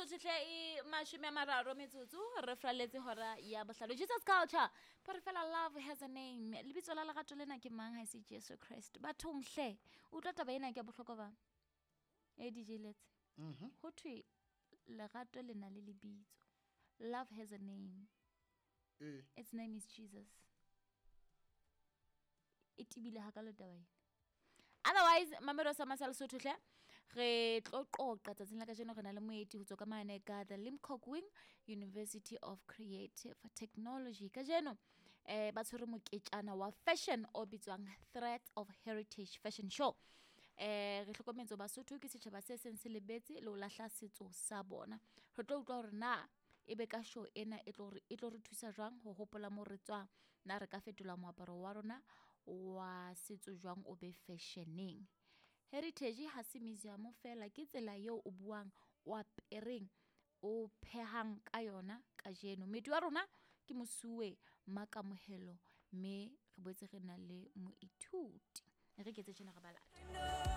Lesotho hle e 30 metsotso re fraletse hora ya bohlano. Jesus Culture ba re fela love has a name. Lebitso la lerato lena ke mang ha e se Jesu Christ? Bathong hle, utlwa taba ena ke ya bohlokwa ba. E DJ Letse. Ho thwe lerato le na le lebitso. Love has a name. Ee. Its name is Jesus. E tebile hakalo taba ena. Otherwise, mamelo sa masa Lesotho hle, re tlo qoqa tsatsing la kajeno, re na le moeti ho tswa ka mane ka the Limkokwing University of Creative Technology. Kajeno ba tshwere moketjana wa fashion o bitswang Threads of Heritage Fashion Show. Re hlokometse Basotho ke setjhaba se seng se lebetse le ho lahla setso sa bona. Re tlo utlwa hore na ebe ka show ena e tlo re thusa jwang ho hopola mo re tswang, na re ka fetola moaparo wa rona wa setso jwang o be fashioneng. Heritage ha se museum fela, ke tsela eo o buang, o apereng, o phehang ka yona kajeno. Moeti wa rona ke Mosuwe Makamohelo, mme re boetse re na le moithuti. Re ketse tjena re ba lata.